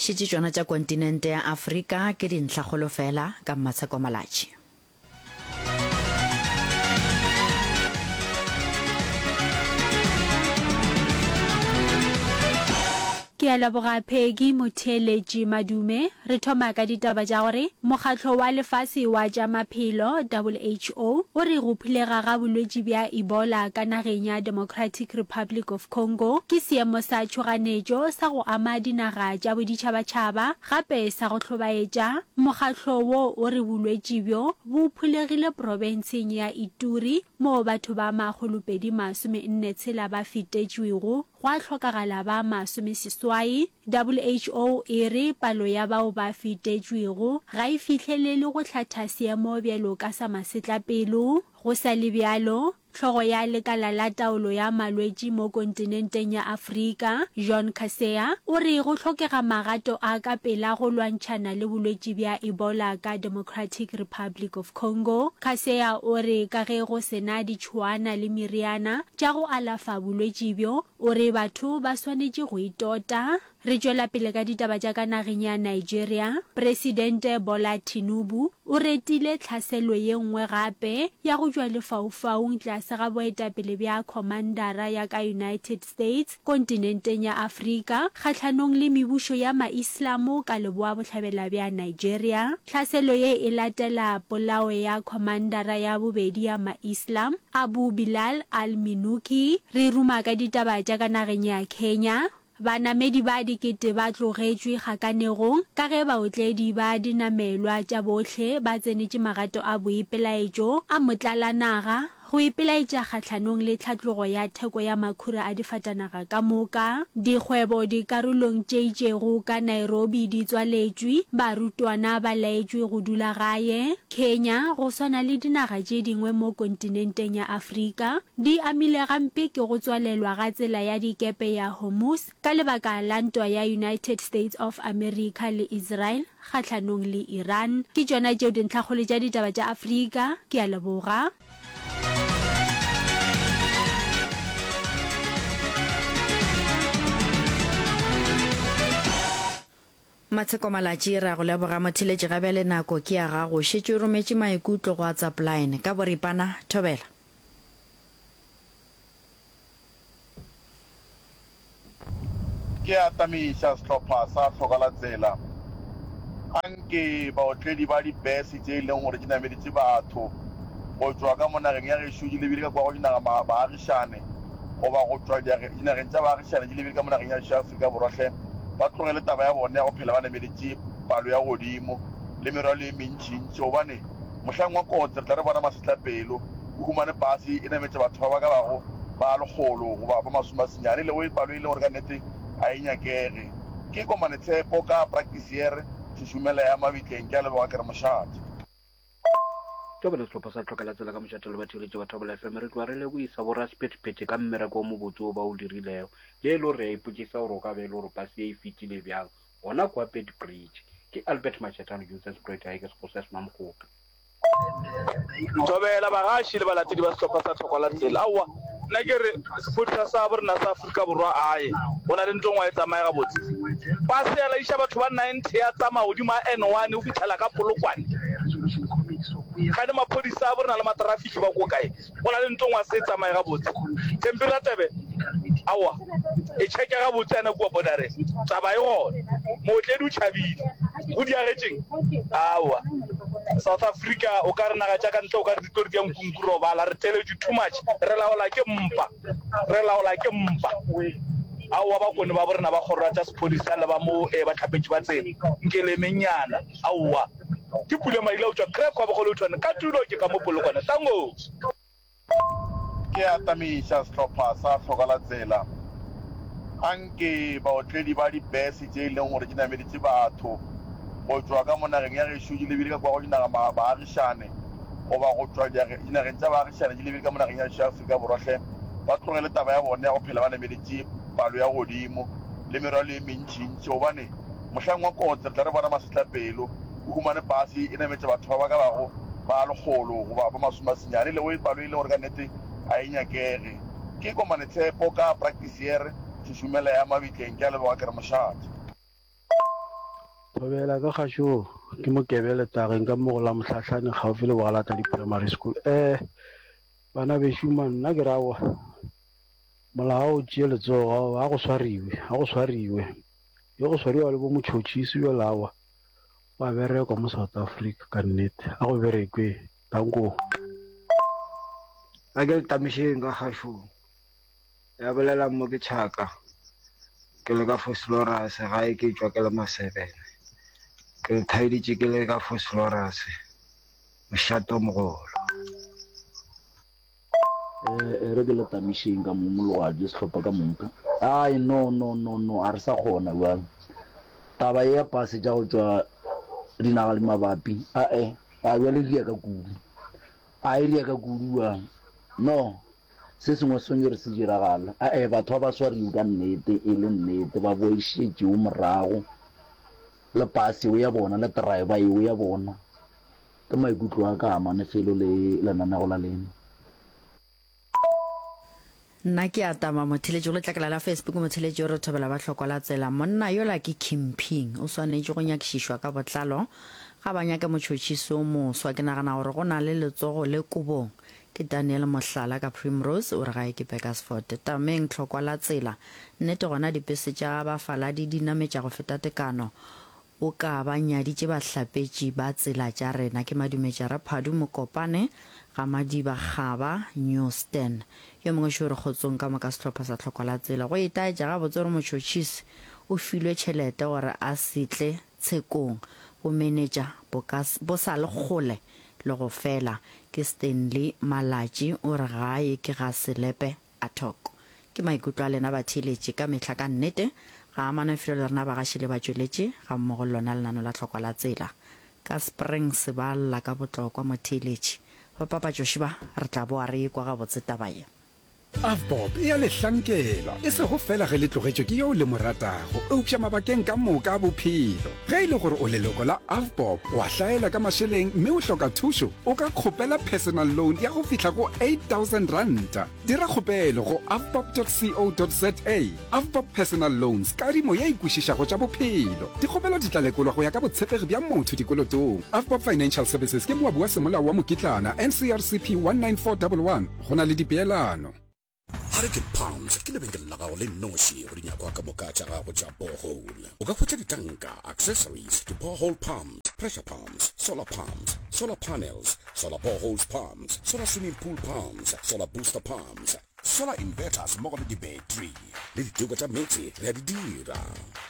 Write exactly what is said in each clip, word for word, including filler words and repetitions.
Šetše tšona tša kontinente ya Afrika ke dintlhakgolo fela ka Mmatsheko Malatji. Ke a leboga Peggy Motheeletši Madume. Re thoma ka ditaba tša gore Mokgatlo wa Lefase wa tša Maphelo, WHO, o re go phulega ga bolwetši bja Ebola ka nageng ya Democratic Republic of Congo ke seemo sa tšhoganetšo sa go ama dinaga tša boditšhabatšhaba gape sa go hlobaetša. Mokgatlo wo o re bolwetši bjo bo phulegile profenseng ya Ituri moo batho ba makgolopedi masome nne tshela ba fetetšwego gwa hlokagala ba masomeseswai. WHO e re palo ya bao ba fetetšwego ga e fihlelele go hlatha seemo bjalo ka sa masetlapelo. Go sa le bjalo, hlogo ya lekala la taolo ya malwetši mo kontinenteng ya Afrika, Jean Kaseya, o re go hlokega magato a ka pela go lwantšhana le bolwetši bja Ebola ka Democratic Republic of Congo. Kaseya o re ka ge go se na ditšhuana le meriana tša go alafa bolwetši bjo, o re batho ba swanetše go itota. Re tšwela pele ka ditaba tša ka nageng ya Nigeria. Presidente Bola Tinubu o retile tlhaselo ye nngwe gape ya go tšwa lefaufaung tlase ga boetapele bja Khomandara ya ka United States kontinenteng ya Afrika kgahlanong le mebušo ya Maislamo ka leboa-bohlabela bja Nigeria. Tlhaselo ye e latela polao ya Khomandara ya bobedi ya Maislam, Abu Bilal al-Minuki. Re ruma ka ditaba tša ka nageng ya Kenya. Banamedi ba dikete ba tlogetšwe kgakanegong ka ge baotledi ba dinamelwa tša bohle ba tsenetše magato a boipelaetšo a motlalanaga go ipelaetša kgahlanong le tlhatlogo ya theko ya makhura a difatanaga ka moka. Dikgwebo dikarolong tše itšego ka Nairobi di tswaletšwe, barutwana ba laetšwe go dula gae. Kenya, go swana le dinaga tše dingwe mo kontinenteng ya Afrika, di amile gampe ke go tswalelwa ga tsela ya dikepe ya Hormuz ka lebaka la ntwa ya United States of America le Israel kgahlanong le Iran. Ke tšona tšeo dintlhakgolo tša ditaba tša Afrika. Ke a leboga. Matsheko Malatji, re a go leboga motheeletši ga bjale nako ke ya gago. Šetše o rometše maikutlo go WhatsApp line. Ka boripana, thobela. Ke atamiša sehlopha sa Hlokalatsela. Anke baotledi ba dipese tše e leng gore di nameditše batho go tšwa ka mo nageng ya gešo di lebile ka kua go dinaga baagišane goba go tšwa dinageng tša baagišane di lebile ka mo nageng ya gešo ya Afrika Borwa hle ba tlogele taba ya bona ya go phela ba nameditše palo ya godimo le merwalo ye mentšintši gobane mohlang wa kotsi re tla re bona masetlapelo o humane pase e nametša batho ba ba ka bago ba lekgolo goba ba masome a senyane e lego palo e leng gore ka nnete ga e nyakege. Ke Komane Tshepo ka Praktisiere Šušumela ya Mabitleng. Ke a leboga ke re mošate. Thobela Sehlopha sa Tlhokela Tsela ka mošate le batheeletši ba Thobela F M re tloga re lebohisa bo rasephethephethe ka mmereko o mobotse wo ba o dirilego. Le e le gore re a ipotšiša gore o ka be e le gore pase ye e fetile bjang gona kua Beitbridge. Ke Albert Mashetane Joseph Spruit gae ke Sekgosi sa Mamokgope. Thobela bagaši le balatedi ba sehlopha sa Tlhokwa la Tsela. Aowa, nna ke re sephodisa sa bo rena sa Afrika Borwa ae, go na le ntho engwe ga e tsamaye gabotse. Pase ya laiša batho ba ninety ya tsamaya godimo ga N one go fihlela ka Polokwane. Kgane maphodisa a bo rena le matrafiki ba ko kae? Go na le ntho engwe ga se e tsamaye gabotse. Thembi Radebe, Aowa, e checke gabotse yana kua bordereng. Taba e gona. Mootledi o tšhabile. Go diagetšeng? Aowa. South Africa o ka re naga tša ka ntle o ka re di tlo re dia nkunku robala. Re theletšwe too much. Re laola ke mpa. Re laola ke mpa. Aowa bakone ba borena ba kgoro ya tša sephodisa le ba mo eh, bahlapetši ba tsela. Nke le emeng-nyana. Aowa. Ke Pule Maila o tšwa Crack wa Bogolotšwane ka tulo ke ka mo Polokwane. Tango! Ke atamiša sehlopha sa Hlokalatsela. Anke baotledi ba dipese tše e leng gore di nameditše batho go tšwa ka mo nageng ya gešo di lebile ka kua go dinaga baagišane goba go tšwa dinageng tša baagišane di lebile ka mo nageng ya gešo ya Afrika Borwa hle ba tlogele taba ya bona ya go phela ba nameditše palo ya godimo le merwalo ye mentšintši gobane mohlang wa kotsi re tla re bona masetlapelo o humane pase e nametša batho ba ba ka bago ba lekgolo goba ba masome a senyane e lego palo e leng gore ka nnete ga e nyakege. Ke Komane Tshepo ka Praktisiere Šušumela ya Mabitleng. Ke a leboga ke re mošate. Thobela ka kgašo ke Mokebe Letageng ka mo go la Mohlahlane kgaufi le Bogalatladi Primary School. Eh bana bešo man nna ke ra aowa molao o tšee letsogo aowa a go swariwe a go swariwe yo go swariwa le bo motšhotšhisi bjale aowa wa berekwa mo South Africa ka nnete a go berekwe danko. A ke le tamišeng ka kgašong ya bolela mo ke tšhaka ke le ka Vosloorus gae ke tšwa ke le Masebene ke le thaeditše ke le ka Vosloorus mošate o mogolo. E re ke le tamišeng ka mo mologadi sehlopha ka moka. Ai no no no no a re sa kgona bjale. Taba ye ya pase tša go tšwa dinaga le mabapi ae a bjale e riaka kudu. A e riaka kudu bjang. No se sengwe se swanetše gore se diragale. Ae batho ba ba swariwe ka nnete e le nnete ba boešetšeo morago le pase eo ya bona le driver eo ya bona. Ke maikutlo a ka a mane felo le lenanego la lena. Nna ke a tama motheletši go letlakala la Facebook motheletši o re thobela ba hlokwa la tsela monna yola ke Kimping o swanetše go nyakišišwa ka botlalo ga ba nyake motšhotšhisi o moswa ke nagana gore go na le letsogo le kobong ke Daniel Mohlala ka Primrose o re gae ke Burgersfort tameng hlokwa la tsela nnete gona dipese tša bafaladi di nametša go feta tekano O ka ba nyaditše bahlapetši ba tsela tša rena. Ke madumetša Raphadu Mokopane, ga Madiba Kgaba, Newston. Yo mongwe šo re kgotsong ka moka sehlopha sa Tlhokwa la Tsela. Go itaetša gabotse gore motšhotšhisi o filwe tšhelete gore a se tle tshekong. Bomenetša bo ka bo sa le kgole le go fela. Ke Stanley Malatši o re gae ke ga Selepe a Thoko. Ke maikutlo a lena batheeletši ka mehla ka nnete ga amana felo le rena bagaši le batšweletši gammogo le lona lenano la tlhokwa la tsela. Ka Springs ba lla ka botlokwa motheeletši. Ba papatšoši ba re tla boa re ekwa gabotse taba ye. AVBOB e a le hlankela, e sego feela ge le tlogetšwe ke yo le mo ratago, eupša mabakeng ka moka a bophelo. Ge e le gore o leloko la AVBOB, wa hlaela ka mašeleng mme o hloka thušo, o ka kgopela personal loan ya go fihla go eight thousand ranta. Dira kgopelo go avbob dot co dot za. AVBOB Personal Loans, kadimo ye e kwešišago tša bophelo. Dikgopelo di tla lekolwa go ya ka botshepegi bja motho dikolotong. AVBOB Financial Services ke moabi wa semolao wa mokitlana, N C R C P one nine four one one. Go na le dipeelano. Hurricane Pumps ke lebenkele la gago le nnoši go dinyakwa ka moka tša gago tša borehole. O ka hwetša ditanka, accessories, di-borehole pumps, pressure pumps, solar pumps, solar panels, solar boreholes pumps, solar swimming pool pumps, solar booster pumps, solar inverters mmogo le dibetri le diteko tša meetse re a di dira.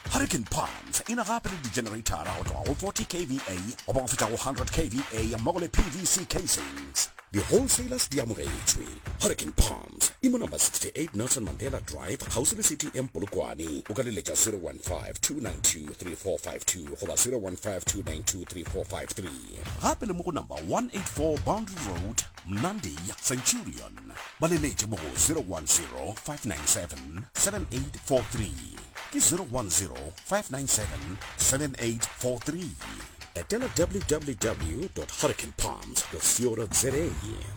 Hurricane Pumps e na gape le di-generator go tloga go forty K V A goba go fihla go hundred K V A mmogo le P V C casings. Di-wholesalers di amogetšwe. Hurricane Palms e mo number sixty eight Nelson Mandela Drive kgauswi le C T M Polokwane. O ka leletša zero one five, two nine two, three four five two goba zero one five, two nine two, three four five three. Gape le mo go number one eight four Boundary Road, Mnandi, Centurion. Ba leletše mo go zero one zero, five nine seven, seven eight four three. Ke zero one zero, five nine seven, seven eight four three. Etela w w w dot hurricane palms dot co dot za.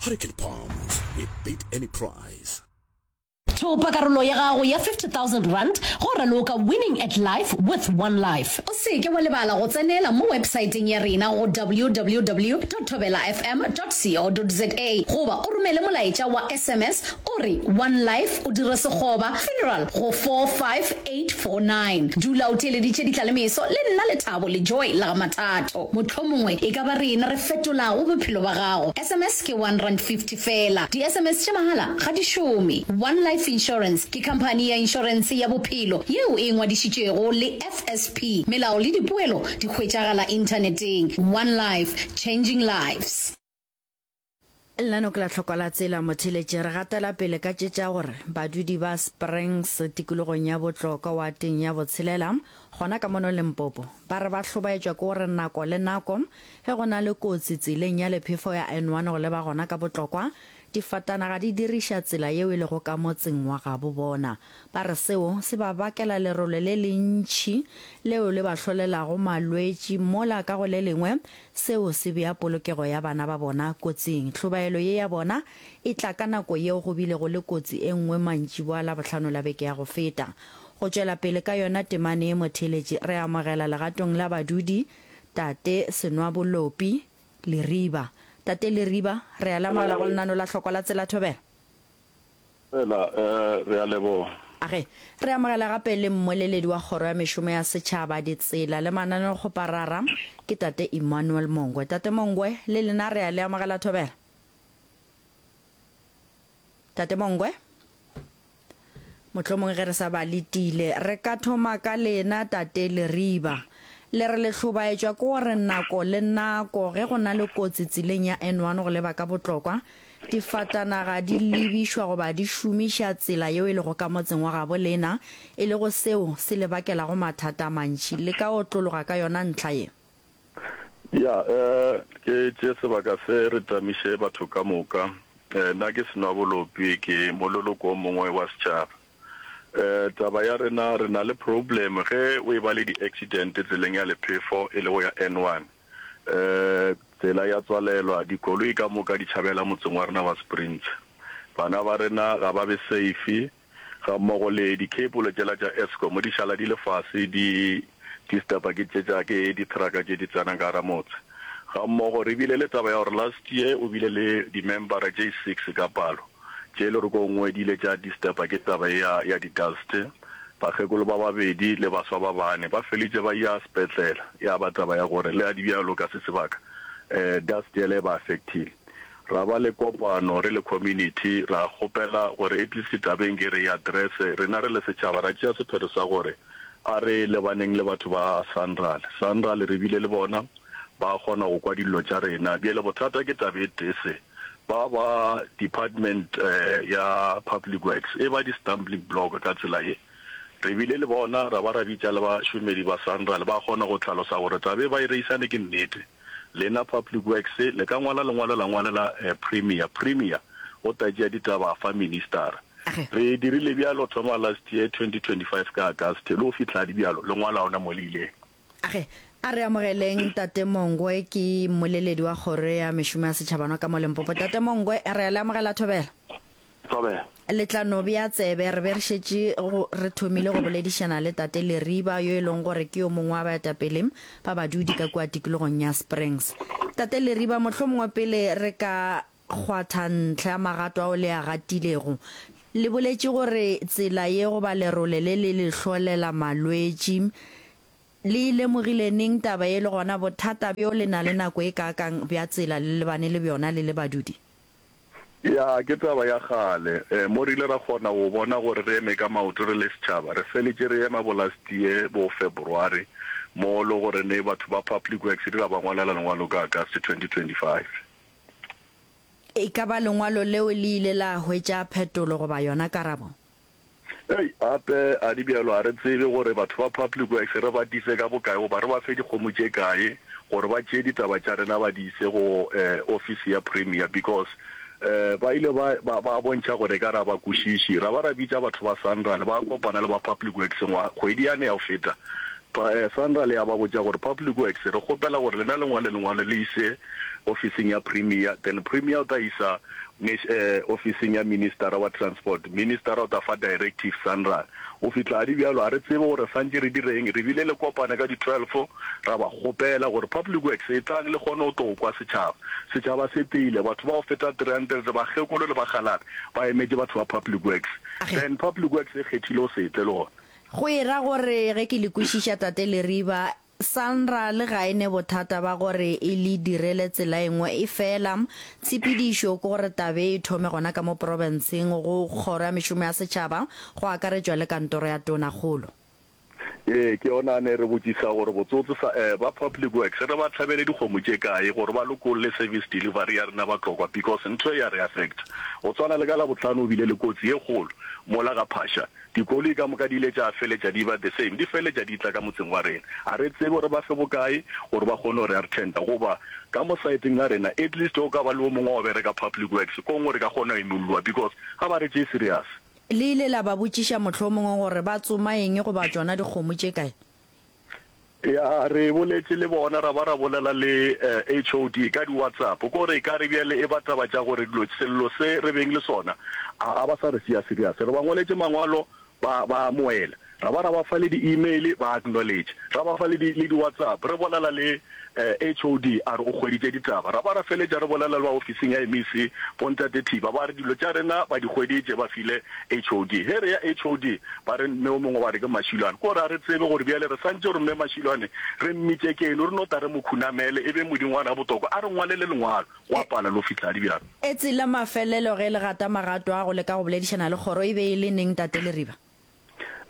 Hurricane Palms, we beat any price. Thopa karolo ya gago ya fifty thousand rand go raloka Winning at Life with One Life. O se ke wa lebala go tsenela mo websaeteng ya rena go w w w dot thobela f m dot co dot za goba o romele molaetša wa S M S o re One Life o dire sekgoba funeral go four five eight four nine. Dula o theeleditše ditlalemeso le nna Lethabo le Joy la ga Mathato. Mohlomongwe e ka ba rena re fetolago bophelo ba gago. S M S ke one rand fifty fela. Di S M S tša mahala ga di šome. One Life Insurance ke khamphani ya inšorense ya bophelo yeo e ngwadišitšwego le F S P. Melao le dipoelo di hwetšagala inthaneteng. One Life, changing lives. Lenaneo ke la tlhokwa la tsela motheletše. Re gatela pele ka tše tša gore badudi ba Springs tikologong ya Botlokwa wateng ya botshelela gona ka mono Limpopo ba re ba hlobaetšwa ke gore nako le nako ge go na le kotsi tseleng ya lephefo ya N one go leba gona ka Botlokwa difatanaga di diriša tsela yeo e lego ka motseng wa gabo bona. Ba re seo se ba bakela lerole le lentši leo le ba hlolelago malwetši mola ka go le lengwe seo se bea polokego ya bana ba bona kotsing. Hlobaelo ye ya bona e tla ka nako yeo go bilego le kotsi e nngwe mantšiboa Labohlano la beke ya go feta. Go tšwela pele ka yona temane ye motheeletši, re amogela legatong la badudi Tate Senwabolopi Leriba. Tate Leriba, re a le amogela go lenano la Hlokwa la Tsela Thobela. Fela, re a leboga. Age, re amogela gape le mmoleledi wa Kgoro ya Mešomo ya Setšhaba, Ditsela le Mananeokgoparara, ke Tate Emmanuel Mongwe. Tate Mongwe, le lena re a le amogela Thobela. Tate Mongwe? Mohlomongwe ge re sa ba letile, re ka thoma ka lena, Tate Leriba. Le re le hlobaetšwa ke gore nako le nako ge go na le kotsi tseleng ya N one go leba ka Botlokwa, difatanaga di lebišwa goba di šomiša tsela yeo e lego ka motseng wa gabo lena, e lego seo se le bakelago mathata a mantši. Le ka otlologa ka yona ntlha ye? Ya, ke tšee sebaka se re tamiše batho ka moka. Nna ke Senwabolopi, ke mololoko o mongwe wa setšhaba. Taba ya rena, re na le problem ge o e ba le di-accident tseleng ya lephefo e lego ya N one. Tsela ya tswalelwa, dikoloi ka moka di tšhabela motseng wa rena wa Springs. Bana ba rena ga ba be safe, ga mmogo le di-cable tšela tša Eskom di šala di le fase di disturba ke tše tša ke di-truck tše di tsenang ka gara motse. Ga mmogo re bile le taba ya gore last year o bile le di-membera tše six ka palo tše e le gore ko nngwe di ile tša disturba ke taba ye ya ya di-dust. Bakgekolo ba babedi le baswa ba bane ba felitše ba ya sepetlela, ya ba taba ya gore le a di bjalo ka se sebaka dust yela e ba affectile. Ra ba le kopano re le community ra kgopela gore at least tabeng ke re e address, rena re le setšhaba ra tšea sephetho sa gore a re lebaneng le batho ba Sanral. Sanral re bile le bona ba kgona go kwa dillo tša rena. Bjale bothata ke taba e tee se, ba ba department ya public works e ba di stumbling block ka tsela ye. Re bile le bona ra ba ra bitša le bašomedi ba Sanral ba kgona go hlalosa gore taba e ba e reisane ke nnete. Lena public works le ka ngwala lengwalo la ngwalela premier, premier o ta tšea ditaba a fa ministara. Re dirile bjalo thoma last year twenty twenty five ka August le go fihla di bjalo lengwalo ga ona mo le ileng. Age, a re amogeleng Tate Mongwe, ke mmoleledi wa Kgoro ya Mešomo ya Setšhabano ka mo Limpopo. Tate Mongwe, re a le amogela Thobela. Thobela. Le tla no bea tsebe, re be re šetše go, re thomile go boledišana le Tate Leriba, yo e leng gore ke yo mongwe wa baetapele ba badudi ka kua tikologong ya Springs. Tate Leriba, mohlomongwe pele re ka kgwatha ntlha ya magato ao le a gatilego, le boletše gore tsela ye goba lerole le le le hlolela malwetši. Le e lemogile neng taba ye le gona bothata bjo le na le nako e kaakang bja tsela le lebane le bjona le le badudi? Ya, ke taba ya kgale. Mo re ile ra kgona go bona gore re eme ka maoto re le setšhaba. Re feletše re ema bo last year bo February mo le gore ne batho ba Public Works re ra ba ngwalela lengwalo ka August twenty twenty five. E ka ba lengwalo leo le ile la hwetša phetolo goba yona karabo? Hei, gape a di bjalo, ga re tsebe gore batho ba Public Works re ba tise ka bokae goba re ba fe dikgomo tše kae gore ba tšee ditaba tša rena ba di ise go ofisi ya Premier because ba ile ba, ba, ba bontšha gore ekare ga ba kwešiši. Ra ba ra bitša batho ba Sanral ba kopana le ba Public Works ngwa, kgwedi yane ya go feta. Sanral ya ba botša gore Public Works re kgopela gore lena le ngwale lengwalo le ise ofising ya Premier, then Premier o tla isa ofising ya Ministara wa Transport, Ministara o tla fa directive Sanral. Go fihla di bjalo, ga re tsebe gore santše re direng. Re bile le kopano ka di twelve, ra ba kgopela gore Public Works etlang le kgone go tlo kwa setšhaba. Setšhaba se tile, batho ba go feta three hundred, bakgekolo le bakgalabje ba emetše batho ba Public Works. Then Public Works e kgethile go se tle le gona. Go e ra gore ge ke le kwešiša Tate Leriba, Sanral ga e ne bothata ba gore e le direle tsela e nngwe, efela tshepedišo ke gore taba e thome gona ka mo profenseng go Kgoro ya Mešomo ya Setšhaba, go akaretšwa le kantoro ya Tonakgolo. Ee, ke yona a ne re botšisa gore botsotse sa eh, ba Public Works re ba hlabele dikgomo tše kae gore ba lokolle service delivery ya rena Batlokwa because ntho e ya re affecta. Go tswana le ka Labohlano o bile le kotsi ye kgolo mola ga Phasha. Dikoloi ka moka di ile tša feletša di ba the same, di feletša di tla ka motseng wa rena. Ga re tsebe gore ba fe bokae gore ba kgone go re attenda. Goba ka mo saeteng la rena at least go ka ba le o mongwe wa go bereka public works, ko gongwe re ka kgona go imolloa because ga ba re tšee serious. Le ile la ba botšiša mohlomongwe gore ba tsoma eng goba tšona dikgomo tše kae? Ya, re boletše le bona ra ba ra bolela le H O D ka di WhatsApp. Ko gore ekare bjale e ba taba tša gore dilo, sello se re beng le sona, a, a ba sa re tšea serious. Re ba ngwaletše mangwalo, ba, ba amoela. Ra ba ra ba fa le di-email, ba acknowledge. Ra ba fa le di, le di-WhatsApp, re bolela le H O D a re o hweditše ditaba. Ra ba ra feletša re bolela le ba ofising ya M E C, bo Ntate Thiba, ba re dilo tša rena ba di hweditše, ba file H O D. Ge re ya H O D, ba re mme o mongwe ba re ke Mashilwane. Ke gore ga re tsebe gore bjale re santše re mme Mashilwane re mmitše ke eng, re no tla re mo khunamele e be modingwana botoko a re ngwalele lengwalo. Go a pala le go fihla di bjalo. Etsi la mafelelo ge le gata magato a go leka go boledišana le kgoro e be e le neng, Tate Leriba?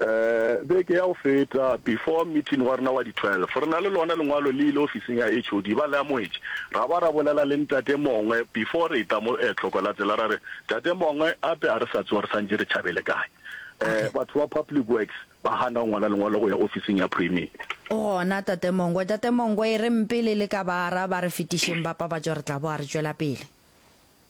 Eh, beke ya go feta, before meeting wa rena wa di twelve, re na le lona lengwalo le ile ofising ya H O D, ba le amogetše. Ra ba ra bolela le ntate mongwe before re eta mo eh, tlhoko la tsela, ra re, Tate mongwe, ape a re sa tsoga re santše re tšhabele kae? Eh, batho ba Public Works ba gana go ngwala lengwalo go ya ofising ya Premier. O gona, Tate Mongwe. Tate Mongwe, e reng pele le ka ba araba, re fetišeng ba papatšo, re tla boa re tšwela pele.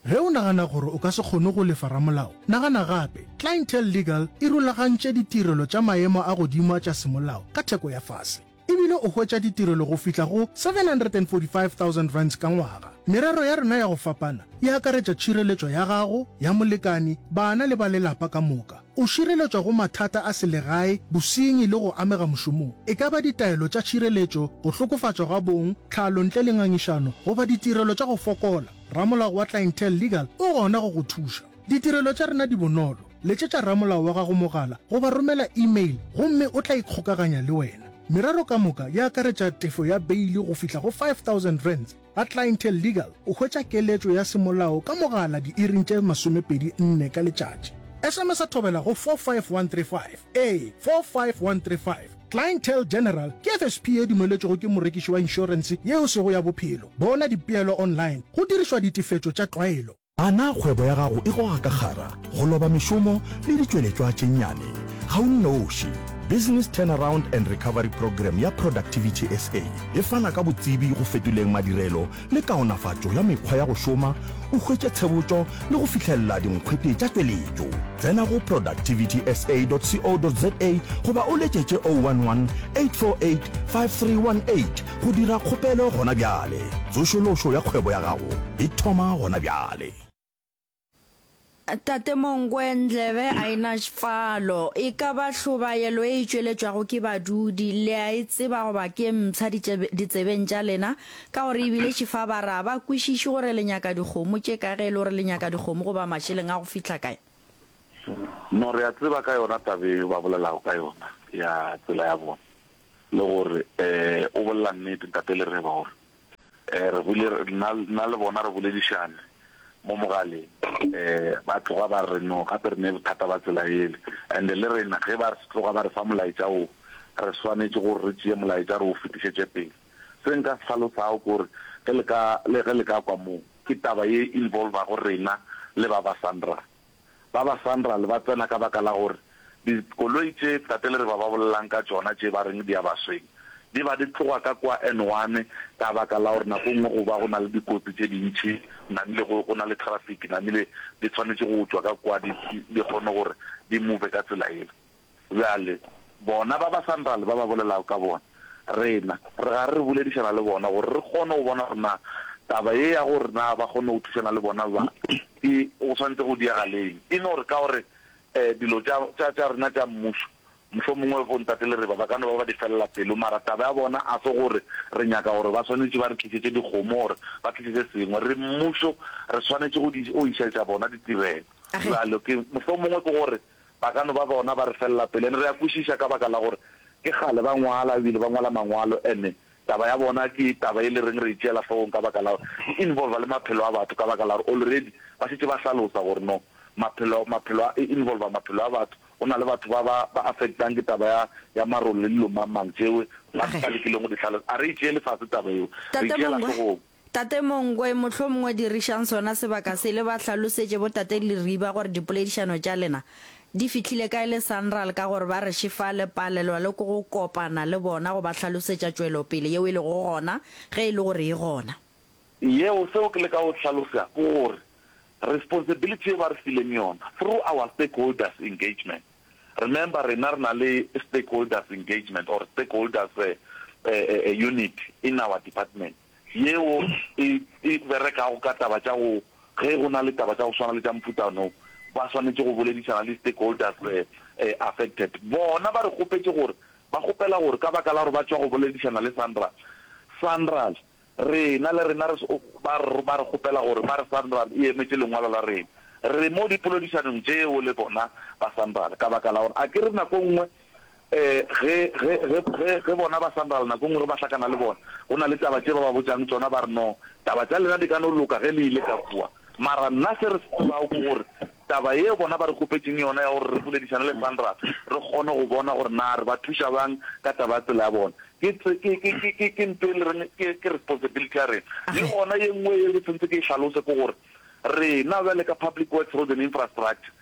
Ge o nagana gore o ka se kgone go lefa ramolao, nagana gape. Clientele Legal e rulagantše ditirelo tša maemo a godimo tša semolao ka theko ya fase. E bile o hwetša ditirelo go fihla go seven hundred and forty-five thousand rands ka ngwaga. Merero ya rena ya go fapana e akaretša tšhireletšo ya gago, ya molekani, bana le ba lelapa ka moka. O šireletšwa go mathata a selegae, bosenyi le go amega mošomong. E ka ba ditaelo tša tšhireletšo, go hlokofatšwa ga bong, tlhalo ntle le ngangišano goba ditirelo tša go fokola, ramolao wa Clientele Legal o gona go go thuša. Ditirelo tša rena di bonolo. Letšetša ramolao wa gago mogala goba romela email gomme o tla ikgokaganya le wena. Merero ka moka e akaretša tefo ya beile go fihla go five thousand rands. Ga Clientele Legal o hwetša keletšo ya semolao ka mogala diiring tše masomepedi nne ka letšatši. S M S a thobela go four five one three five. Ee, four five one three five. Clientele General ke F S P e dumeletšwego ke morekiši wa inšorense yeo sego ya bophelo. Bona dipeelo online go dirišwa ditefetšo tša tlwaelo. A na kgwebo ya gago e goga ka kgara, go loba mešomo le ditšweletšwa tše nnyane? Ga o nnoši. Business Turnaround and Recovery Programme ya Productivity S A e fana ka botsebi go fetoleng madirelo le kaonafatšo ya mekgwa ya go šoma, o hwetše tshebotšo le go fihlelela dinkgwete tša tšweletšo. Tsena go productivitysa dot co dot za goba o letšetše zero one one, eight four eight, five three one eight go dira kgopelo gona bjale. Tsošološo ya kgwebo ya gago e thoma gona bjale. Tate Mongwe, ndlebe a e na falo. E ka ba hlobaelo e e tšweletšwago ke badudi, le a e tseba goba ke mpsha ditsebeng tša lena, ka gore ebile šifa ba re a ba kwešiše gore le nyaka dikgomo tše ka ge e le gore le nyaka dikgomo goba mašeleng a go fihla kae? No, re a tseba ka yona taba eo ba bolelago ka yona ya tsela ya bona, le gore um o bolela nnete Ntate Lereba gore um re bule nna nna le bona re boledišane mo mogaleng, um ba tloga ba re no gape re ne bothata ba tsela ele, and le rena ge ba tloga ba re fa molaetša wo, re swanetše gore re tšee molaetša re o fetišetše pele. Se nka se hlalosago ke gore ge le ka le ge le ka kwa moo ke taba ye involvago rena le ba ba SANRAL. Ba ba SANRAL ba tsena ka baka la gore dikoloi tše Tate Lereba ba bolelang ka tšona tše ba reng di a ba swenya, di ba di tloga ka kwa N one ka baka la gore nako nngwe go ba go na le dikotsi tše dintši, namile go go na le traffic, namile di tshwanetše go tšwa ka kwa di di kgone gore di move ka tsela yela. Bjale bona ba ba SANRAL ba ba bolelago ka bona, rena re gare re boledišana le bona gore re kgone go bona gore na taba ye ya gore na ba kgone go thušana le bona ba ke go swanetše go diega leng. E no re ka gore um dilo tša tša tša rena tša mmušo mohlomongwe bo Ntate Lereba ba ka no ba ba di felela pelo, mara taba ya bona a se gore re nyaka gore ba swanetše ba re tlišetše dikgomo gore ba tlišetše sengwe. Re mmušo, re swanetše go di go išetša bona ditirelo. Bjalo ke mohlomongwe ke gore ba ka no ba bona ba re felela pelo, and re a kwešiša ka baka la gore ke kgale ba ngwala ebile ba ngwala mangwalo, and taba ya bona ke taba e le reng re e tšeela hlogong ka baka la gore e involva le maphelo a batho, ka baka la gore already ba šetše ba hlalosa gore no maphelo maphelo a e involva maphelo a batho, go na le batho ba ba ba affectang ke taba ya ya marole le dilo mang mang tšewe ba ba lekileng go di hlalosa. A re e tšeele fase taba yeo, re e Tate tšeela Mongwe, hlogong. Tate Mongwe, mohlomongwe dirišang sona sebaka se le ba hlalosetše bo Tate Leriba gore dipoledišano tša lena di fihlile kae le SANRAL ka gore ba re šefa le palelwa le ke go kopana le bona go ba hlalosetša tšwelopele yeo e lego gona ge e le gore e gona. Yeo, seo ke leka go hlalosa ke gore responsibility ye ba re fileng yona through our stakeholders engagement, remember rena re na le stakeholders engagement or stakeholders unit in our department yeo e e berekago ka taba tša go ge go na le taba tša go swana le tša mofuta no, ba swanetše go boledišana le stakeholders affected. Bona ba re kgopetše gore, ba kgopela gore ka baka la gore ba tšwa go boledišana le Sanral, Sanral, rena le rena re, ba re, ba re kgopela gore ba re Sanral e emetše lengwalo la rena. Re mo dipoledišanong tšeo le bona ba Sanral, ka baka la gore a ke re nako nngwe um ge, ge, ge, ge, ge bona ba Sanral nako nngwe ge ba hlakana le bona, go na le taba tše ba ba botšang tšona, ba re no, taba tša lena di ka no loka ge le ile ka kua. Mara nna se re se tsebago ke gore taba yeo bona ba re kgopetšeng yona ya gore re boledišane le Sanral, re kgone go bona gore na re ba thuša bjang ka taba ya tsela ya bona, ke, ke, ke, ke, ke, ke nto e le reng ke, ke responsibility ya rena. Le gona ye nngwe ye ke sentse ke e hlalose ke gore rena bjale ka Public Works Roads and Infrastructure,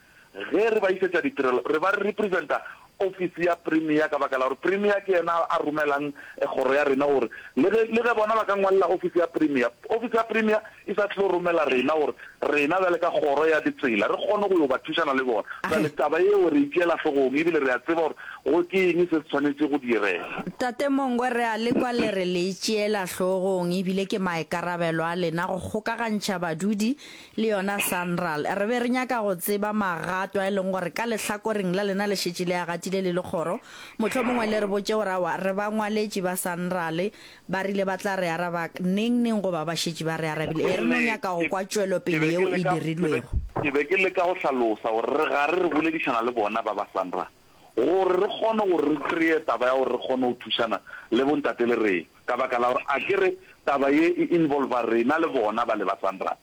ge re ba isetša ditirelo, re ba re representa ofisi ya Premier ka baka la gore Premier ke yena a romelang kgoro ya rena gore le ge, le ge bona ba ka ngwalela ofisi ya Premier, ofisi ya Premier e sa tlo romela rena gore rena bjale ka kgoro ya ditsela re kgone go yo ba thušana le bona. Bjale taba yeo re e tšeela hlogong ebile re a tseba gore go ke eng se se swanetše go direga. Tate Mongwe, re a le kwa le re le e tšeela hlogong ebile ke maikarabelo a lena go kgokagantšha badudi le yona Sanral. Re be re nyaka go tseba magato a e leng gore ka lehlakoreng la lena le šetše le a gatile le le kgoro. Mohlomongwe le re botše gore aowa re ba ngwaletše ba Sanral ba rile ba tla re araba neng neng goba ba šetše ba re arabile. Ee, re no nyaka go kwa Ke tšwelopele be ke yeo e leka, ke be, dirilwego. ke be ke leka go hlalosa gore re gare re boledišana le bona ba ba Sanral gore re kgone gore re kreye taba ya gore re kgone go thušana le bontate le rena ka baka la gore a ke re taba ye e involva rena le bona ba le ba Sanral.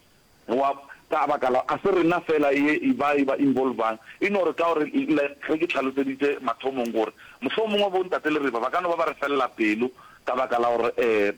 Wa, ka baka la, a se rena feela ye e ba e ba involvang, e no re ka gore, like ge ke hlaloseditše mathomong gore mohlomongwe bo ntate le reba ba ka no ba ba re felela pelo ka baka la gore um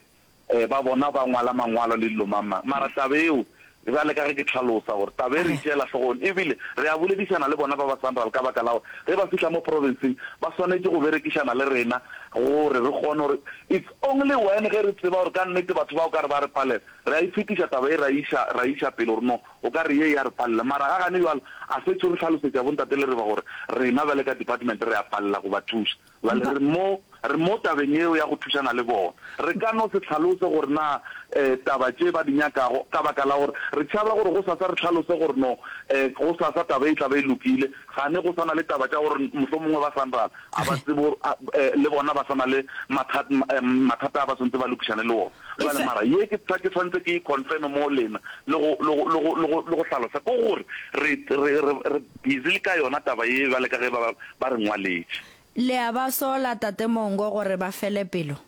um ba bona ba ngwala mangwalo le dilo mang mang. Mara taba yeo, bjale ka ge ke hlalosa gore taba e re e tšeela hlogong, ebile re a boledišana le bona ba ba Sanral ka baka la gore ge ba fihla mo provinceng ba swanetše go berekišana le rena gore re kgone gore it's only when ge re tseba gore ka nnete batho ba o ka re ba re palela Re a e fetiša taba ye ra e iša, ra e iša pele gore no, o ka re ye e a re palela. Mara ga gane bjalo, a setšo re hlalosetša bontate le reba gore rena bjale ka department re a palela go ba thuša. Bjale re mo, re mo tabeng yeo ya go thušana le bona. Re ka no se hlalose gore na taba tše ba di nyakago ka baka la gore re tšhaba gore gosasa re hlalose gore no, gosasa taba e tla ba e lokile, gane go sa na le taba tša gore mohlomongwe ba Sanral a ba tsebe gore le bona ba sa na le mathata a ba swanetše ba lokišane le ona. Bjale mara ye ke ke swanetše ke e confirm mo lena le go le go le go le go le go hlalosa ke gore re re re re busy le ka yona taba ye bjale ka ge ba ba re ngwaletše. Le a ba sola Tate Mongo gore ba fele pelo?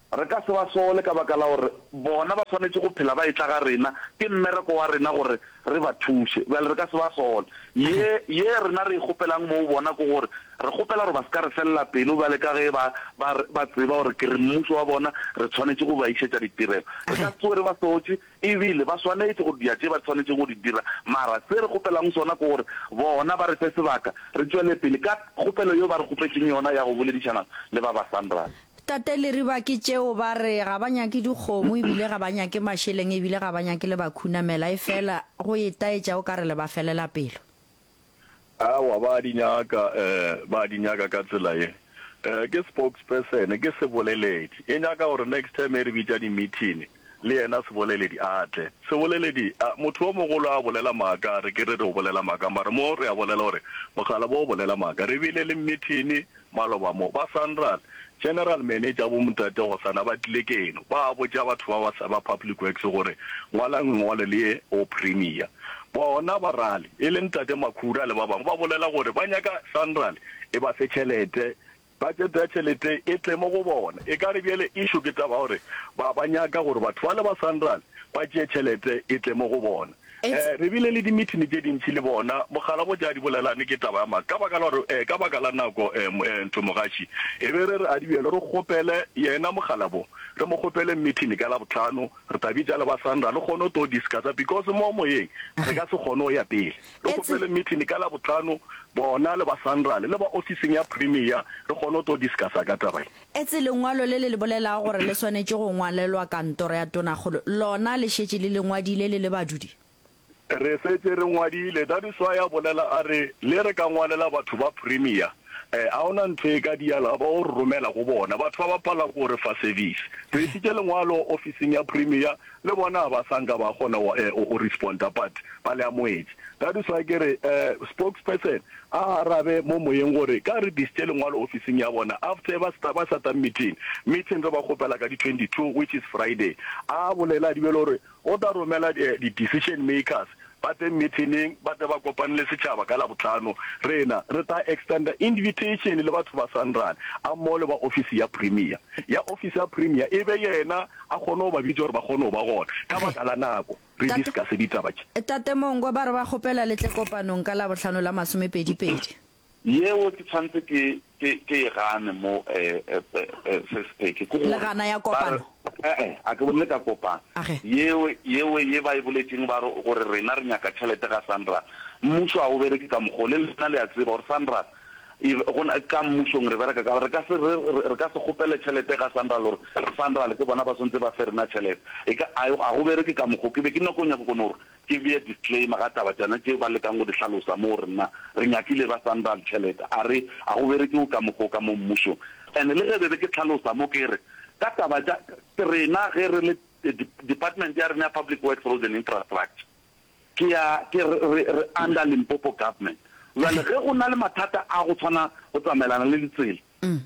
Re ka se ba sole ka baka la gore bona ba swanetše go phela ba etla ga rena, ke mmereko wa rena gore re ba thuše. Bjale re ka se ba sole. Ye, ye rena re e kgopelang mo go bona ke gore re kgopela gore ba se ka re felela pelo bjale ka ge ba, ba, ba tseba gore ke re mmušo wa bona, re tshwanetše go ba išetša ditirelo. Re ka se tsoge re ba sotše, ebile ba swanetše go dia tše ba tshwanetšego go di dira. Mara se re kgopelang sona ke gore bona ba re fe sebaka re tšwele pele ka kgopelo yeo ba re kgopetšeng yona ya go boledišana le ba ba Sanral. Tate Leriba ke tšeo ba re ga ba nyake dikgomo ebile ga ba nyake mašeleng ebile ga ba nyake le ba khunamela efela go itaetša o ka re le ba felela pelo. Aowa ba a di nyaka, eh, ba a di nyaka ka tsela ye. Eh, ke spokesperson, ke seboleledi. E nyaka gore next time e re bitša di-meeting, le yena seboleledi a tle. Seboleledi, a, motho o mogolo a bolela maaka, re ke re re o bolela maaka, mara mo re a bolela gore mokgalabo o bolela maaka. Re bile le meeting Maloba mo, ba Sanral, General Manager bo Ntate Gosana ba tlile keno, ba botša batho ba ba, ba Public Works gore ngwalang lengwalo le ye go Premier. Bona ba rali, e le Ntate Makhura le ba bangwe, ba bolela gore ba nyaka Sanral e ba fe tšhelete, budget ya tšhelete e tle mo go bona. E ka re bjale issue ke taba ya gore ba, ba nyaka gore batho bale ba Sanral ba tšee tšhelete e tle mo go bona. Eh, re bile le dimithini tše dintši le bona. Mogala bo tša di bolelane ke taba ya maaka. Ka baka la gore, eh, ka baka la nako, eh, eh, ntho mogaši, e be re re a di bjalo, re kgopele yena mogala bo, re mo kgopele mithini ka Labohlano, re tla bitša le ba Sandra, re kgone go tlo discussa, because mo moyeng re ka se kgone go ya pele. Re kgopele mithini ka Labohlano, bona le ba Sandra le ba ofising ya Premier, re kgone go tlo discussa ka taba ye. Etse lengwalo le le le bolelago gore le swanetše go ngwalelwa kantoro ya tonakgolo, lona le šetše le le ngwadile le le badudi? Re šetše re ngwadile. That is why a bolela a re le re ka ngwalela batho ba Premier, Eh, a ona ntho e ka diala ba o re romela go bona batho ba ba pala go re fa service. Re isitše lengwalo ofising ya Premier le bona ba sa nka ba kgona go eh, go responda but ba le amoetše. That is why ke re eh, spokesperson a arabe mo moyeng gore ka re disitše lengwalo ofising ya bona after ba sta ba sata meeting meeting re ba kgopela ka di twenty two which is Friday a bolela di bele gore o tla romela di decision makers ba tle meeting ba tle ba kopane le setšhaba ka Labohlano rena re tla extenda invitation le batho ba Sanral a mmogo le ba office ya Premier ya office ya Premier e be yena a kgone go ba bitša gore ba kgone go ba gona ka baka la nako re Tate, discuss ditaba tše. Tate Mongwe ba re ba kgopela le tle kopanong ka Labohlano la masomepedi-pedi. Yeo ke tshwanetse ke, ke, ke e gane mo, eh, eh, eh, Sis Peggy, ke Le gore gana ya ba re, kopano? E-e, a ke bolele ka kopano. Age. Yeo, yeo ye ba e boletšeng ba re, gore rena re nyaka tšhelete ga Sanral. Mmušo ga o bereke ka mokgwa o. Le lena le a tseba gore Sanral e, go na, ka mmušong re bereka ka, re ka se re, re ka se kgopele tšhelete ga Sanral gore Sanral ke bona ba swantse ba fe rena tšhelete. E ka, a, ga go bereke ka mokgwa o. Ke be ke nyako nyaka go no re Ke bee disclaimer ga taba tšana tše ba lekang go di hlalosa mo gore nna re nyakile ba Sanral tšhelete a re a go berekiwe ka mokgwa o ka mo mmušong. And le ge be be ke hlalosa mo ke re ka taba tša rena ge re le department ya rena ya Public Works Roads and Infrastructure ke ya ke re re re under Limpopo government. Bjale ge go na le mathata a go tshwana go tsamaelana le ditsela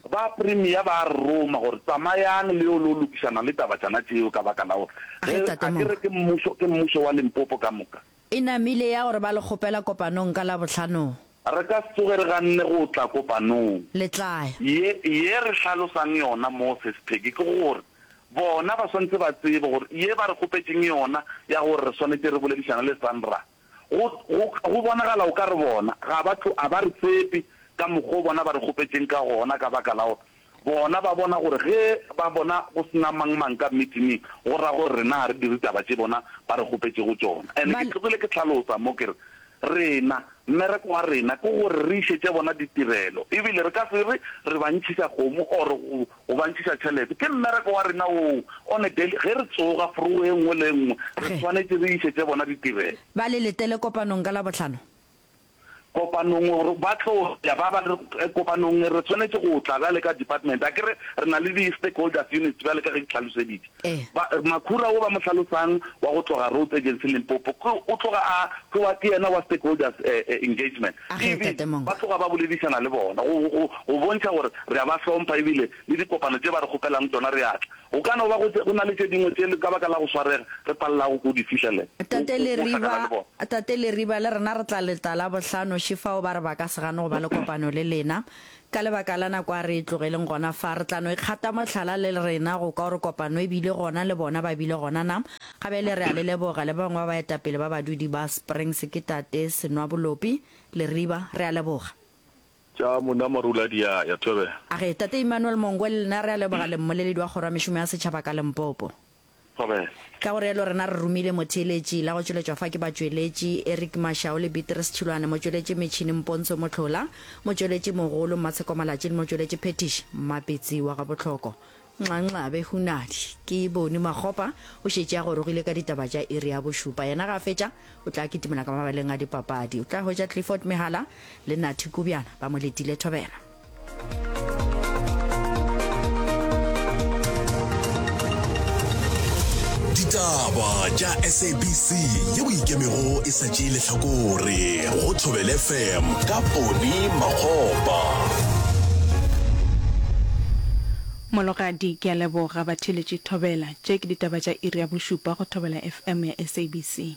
Ba Premier ba re roma gore tsamayang le yo lo lokišana le taba tšana tšeo ka baka la gore A ge ge Tate a ke re Mongwe. ke mmušo ke mmušo wa Limpopo ka moka. E namile ya gore ba le kgopela kopanong ka Labohlanong. Re ka se tsoge re ganne go tla kopanong. Le tla ya. Ye ye re hlalosang yona mo Sis Peggy ke gore bona ba swanetše ba tsebe gore ye ba re kgopetšeng yona ya gore re swanetše re boledišane le Sandra Go, go, go bonagala o ka re bona ga ba tlo, a ba re tshepe ka mokgwa o bona ba re kgopetšeng ka gona, ka baka la gore bona ba bona gore ge ba bona go se na mang-mang ka meeting-ing, go ra gore rena ga re dire taba tše bona ba re kgopetšego tšona. And Ba ke tlogile ke hlalosa mo ke re, rena, mmereko wa rena ke gore re išetše bona ditirelo, ebile re ka se re re ba ntšhiša kgomo or go, go ba ntšhiša tšhelete. Ke mmereko wa rena woo, on a daily, ge re tsoga forogo e nngwe le e nngwe, re Ge. swanetše re išetše bona ditirelo. Ba le letele kopanong ka Labohlano. Kopanong, gore ba tlo ya, ba ba re, kopanong re swanetše go tla bjale ka department. Akere re na le di-stakeholders units bjale ka ge ke hlaloseditše. Ee. Ba, Makhura wo ba mo hlalosang wa go tloga Roads Agency Limpopo, ke, o tloga a, ke wa, ke yena wa stakeholders engagement. A ge, Ebile Tate Mongwe. ba tloga ba boledišana le bona, go, go, go bontšha gore re a ba hlompha ebile le dikopano tše ba re kgopelang tšona re a tla. Go ka no ba go, go na le tše dingwe tše ka baka la go swarega re palelago ke go di fihlelela, go, Tate go, go Leriba, hlakana le bona. Tate Leriba, le rena re tla leta Labohlano, šefao ba re ba ka se gane go ba le kopano le lena. Ka lebaka la nako a re e tlogeleng gona fa. Re tla no ikgata mohlala le rena go kwa gore kopano e bile gona le bona ba bile gona na. Ga bjale re a le leboga le ba bangwe ba baetapele ba badudi ba Springs ke Tate Senwabolopi Leriba. Re a leboga. Tša monna Marula di a ya thobela. A re, Tate Emmanuel Mongwe le lena re a leboga le mmoleledi wa Kgoro ya Mešomo ya Setšhaba ka Limpopo. Thobela. Ka go realo rena re romile motheeletši la go tšweletšwa fa ke batšweletši Eric Mashau le Beatrice Tšhilwane, motšweletši metšhini Mpontsho Mohlola, motšweletši mogolo Mmatsheko Malatši le motšweletši phethiši Mmapetsi wa Gabohloko. Nxanxabe Hunadi ke Boni Makgopa o šetše a gorogile ka ditaba tša iri ya bošupa. Yena ga a fetša o tla kitimela ka mabaleng a dipapadi. O tla hwetša Clifford Mehala le Nathi Kubjana ba mo letile Thobela. Ditaba tša S A B C yeo e ikemego e sa tšee lehlakore go Thobela F M ka Poni Makgopa. Mologadi, Ke a leboga batheeletši Thobela. Tše ke ditaba tša iri ya bošupa go Thobela F M ya S A B C.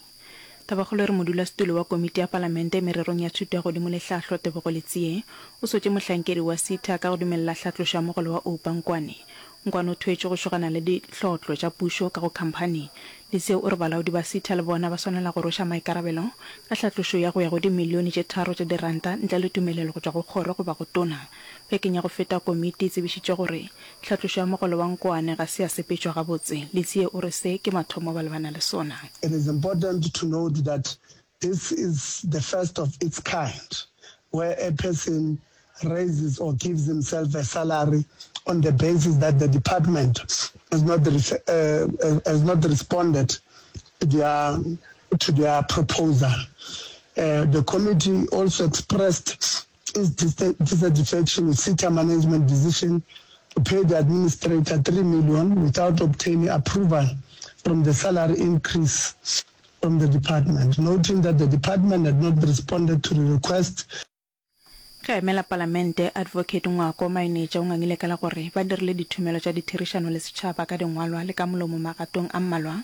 Tabakgolo e re modulasetulo wa komiti ya palamente mererong ya thuto ya godimo le tlhahlo Tebogo Letsie o sotše mohlankedi wa SETA ka go dumelela hlatlošo ya mogolo wa Oupa Nkwane. Nkwane o thwetšwe go šogana le dihlotlo tša pušo ka go khamphani. Letsie o re balaodi ba SETA le bona ba swanela go rweša maikarabelo ka hlatlošo ya go ya go dimilione tše tharo tša diranta ntle le tumelelo go tšwa go kgoro goba go tona. Bekeng ya go feta komiti e tsebišitše gore hlatlošo ya mogolo wa Nkoane ga se ya sepetšwa gabotse. Letsie o re se ke mathomo ba lebana le sona. It is important to note that this is the first of its kind where a person raises or gives himself a salary on the basis that the department has not, uh, has not responded to their, to their proposal. Uh, the committee also expressed its dissatisfaction with SETA management decision to pay the administrator three million without obtaining approval from the salary increase from the department, noting that the department had not responded to the request. Ge a emela Palamente, Advocate Ngwako Mainetša o ngangile ka la gore ba dirile dithomelo tša ditherišano le setšhaba ka dingwalwa le ka molomo magatong a mmalwa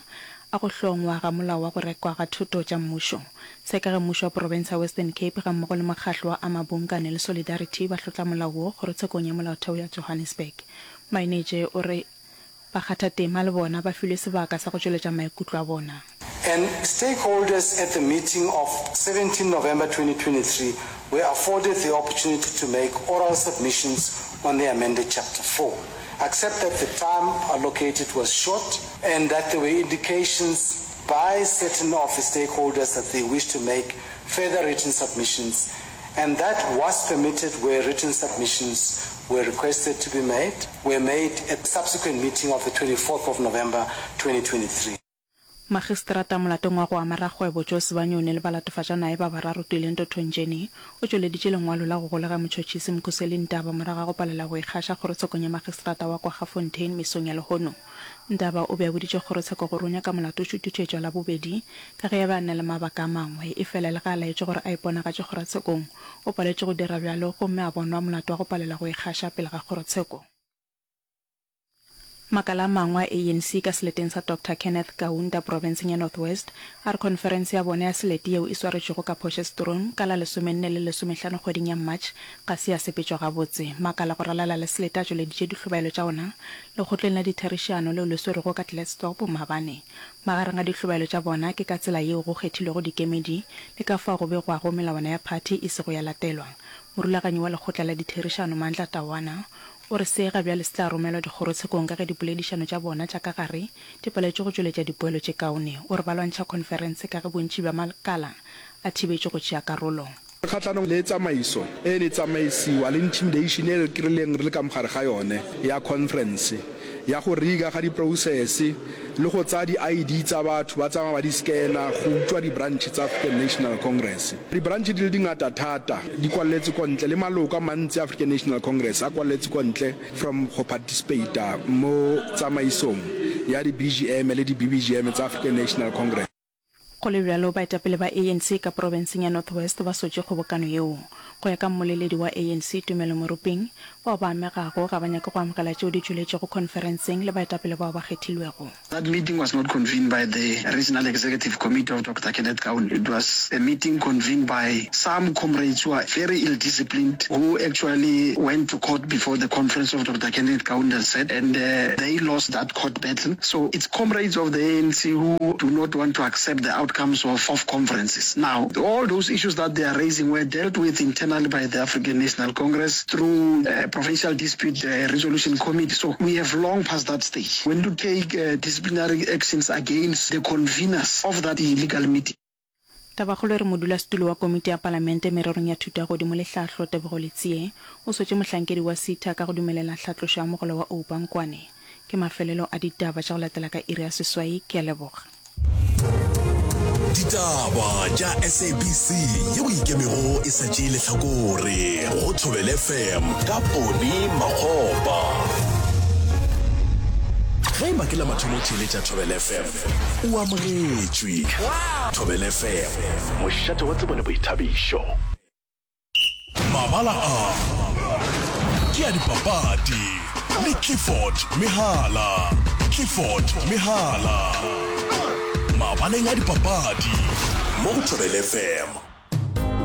a go hlongwa ga Molao wa go Rekwa ga Thoto tša Mmušo. Se ka ge mmušo wa profense ya Western Cape gammogo le mokgahlo wa Amabunkane le Solidarity ba hlotla molao wo kgorotshekong ya molaotheo ya Johannesburg. Mainetše o re bakgathatema le bona ba filwe sebaka sa go tšweletša maikutlo a bona. And stakeholders at the meeting of seventeen November twenty twenty-three were afforded the opportunity to make oral submissions on the amended Chapter four, except that the time allocated was short and that there were indications by certain of the stakeholders that they wished to make further written submissions, and that was permitted where written submissions were requested to be made, were made at subsequent meeting of the twenty-fourth of November twenty twenty-three. Magistrata molatong wa go ama rakgwebo Joe Sibanyoni le balatofatša naye ba bararo Tuilento Thonjeni o tšweleditše lengwalo la go golega motšhotšhisi Mkhuseli Ntaba morago ga go palela go ikgaša kgorotshekong ya magistrata wa Kwaggafontein mesong ya lehono. Ntaba o be a boditše kgorotsheko gore o nyaka molato o šuthišetšwa Labobedi ka ge a be a na le mabaka a mangwe, efela le ge a laetšwe gore a iponagatše kgorotshekong, o paletše go dira bjalo gomme a bonwa molato wa go palela go ikgaša pele ga kgorotsheko. Makala a mangwe a A N C ka seleteng sa Doctor Kenneth Kaunda profenseng ya North West a re khonferense ya bona ya selete yeo e swaretšwego ka Potchefstroom ka la lesomenne le lesomehlano kgweding ya March ga se ya sepetšwa gabotse. Makala go ralala le selete a tšweleditše dihlobaelo tša ona lekgotleng la ditherišano leo le swerwego ka Klerksdorp maabane. Magareng a dihlobaelo tša bona ke ka tsela yeo go kgethilwego dikemedi le ka fao go begwago melawana ya phathi e sego ya latelwa. Morulaganyi wa lekgotla la ditherišano Mandla Tawana o re se ga bjale se tla romelwa dikgorotshekong ka ge dipoledišano tša bona tša ka gare di paletšwe go tšweletša dipoelo tše kaone. O re ba lwantšha khonferense ka ge bontši bja makala a thibetšwe go tšea karolo. Kgahlanong le tsamaiso e ne tsamaisiwa le intimidation e re kry-ileng re le ka mogare ga yone ya conference ya go riga ga di-process le go tsaya di-I D tsa batho ba tsamaya ba di scanner go utswa di-branch tsa African National Congress. Di-branch di le dingata thata di kwaletse ko ntle le maloko a mantsi a African National Congress a kwaletse ko ntle from go participate mo tsamaisong ya di-B G M le di-B B G M tsa African National Congress. Go le bjalo, baetapele ba A N C ka profenseng ya North West ba sotše kgobokano yeo. Go ya ka mmoleledi wa A N C Tumelo Moruping, bao ba amegago ga ba nyake go amogela tšeo di tšweletšego khonferenseng le baetapele bao ba kgethilwego. That meeting was not convened by the Regional Executive Committee of Doctor Kenneth Kaunda. It was a meeting convened by some comrades who are very ill-disciplined, who actually went to court before the conference of Doctor Kenneth Kaunda said, and, uh, they lost that court battle. So it's comrades of the A N C who do not want to accept the outcomes of, of conferences. Now, all those issues that they are raising were dealt with internally by the African National Congress through, uh, Provincial Dispute, uh, Resolution Committee. So we have long passed that stage. We need to take, uh, disciplinary actions against the conveners of that illegal meeting. Tabakgolo e re modulasetulo wa komiti ya palamente mererong ya thuto ya godimo le tlhahlo Tebogo Letsie o swetše mohlankedi wa SETA ka go dumelela tlhatlošo ya mogolo wa Oupa Nkwane. Ke mafelelo a ditaba tša go latela ka iri ya seswai. Ke a leboga. Ditaba tša S A B C yeo ikemego e sa tšee lehlakore go Thobela F M ka Poni Makgopa. Ge e ba ke la mathomo o theeletša Thobela F M, o amogetšwe. Thobela F M, mošate wa tsebo le boithabišo. Mabala a ke a dipapadi le Clifford Mehala. Clifford Mehala. Mabaleng a dipapadi mo go Thobela F M.